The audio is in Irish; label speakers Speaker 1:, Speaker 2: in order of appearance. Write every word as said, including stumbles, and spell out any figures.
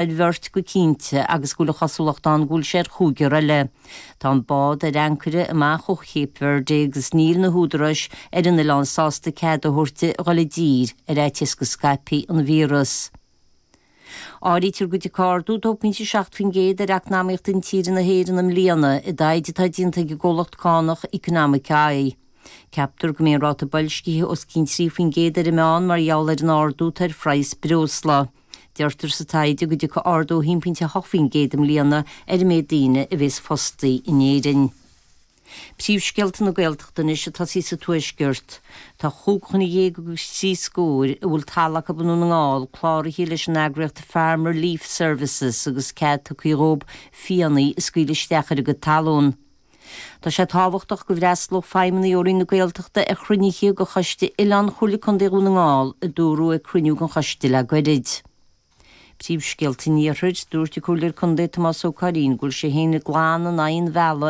Speaker 1: Ar bheirt go cinnte agus go bhfuil an chosúlacht ann go bhfuil sé ar chúigear eile. Tá an bád ar ancaire amach ó Cape Verde agus níl na húdaráis ar an oileán sásta cead a thabhairt di dhul i dtír ar fhaitíos go scaipfidh an víreas. Áirítear go dtiocfaidh ardú dó pointe seacht faoin gcéad ar eacnamaíocht intíre na hÉireann i mbliana i dtaighde atá déanta ag an gcomhlacht cánach Economic Eye. Ceaptar go mbeidh an ráta boilscithe os cionn trí faoin gcéad ar an meán mar gheall ar an ardú atá ar phraghas breosla. Deirtear sa taighde go dtiocfaidh ardú a haon pointe a hocht faoin gcéad i mbliana ar an méid daoine a bhéas fostaí in Éirinn. Príomhscéalta na Gaeltachta anois ag tosaí sa Tuaisceart. Tá chúig dhuine dhéag agus trí scór a bhfuil talamh acu i nDún na nGall cláraithe leis an eagraíocht Farm Relief Services agus cead tugtha dhóibh fianna a scaoileadh isteach ar a gcuid talún. Tá sé tábhachtach go bhfreastalódh feidhmeannaigh ó Roinn na Gaeltachta ar chruinnithe de Choiste Oileán Chomhairle Contae Dhún na nGall a dúradh ag cruinniú den choiste le goirid. Príomhscéalta an Iarthair, dúirt an Comhairleoir Contae Tomás Ó Curraoin go bhfuil sé féin glan in aghaidh an mhealladh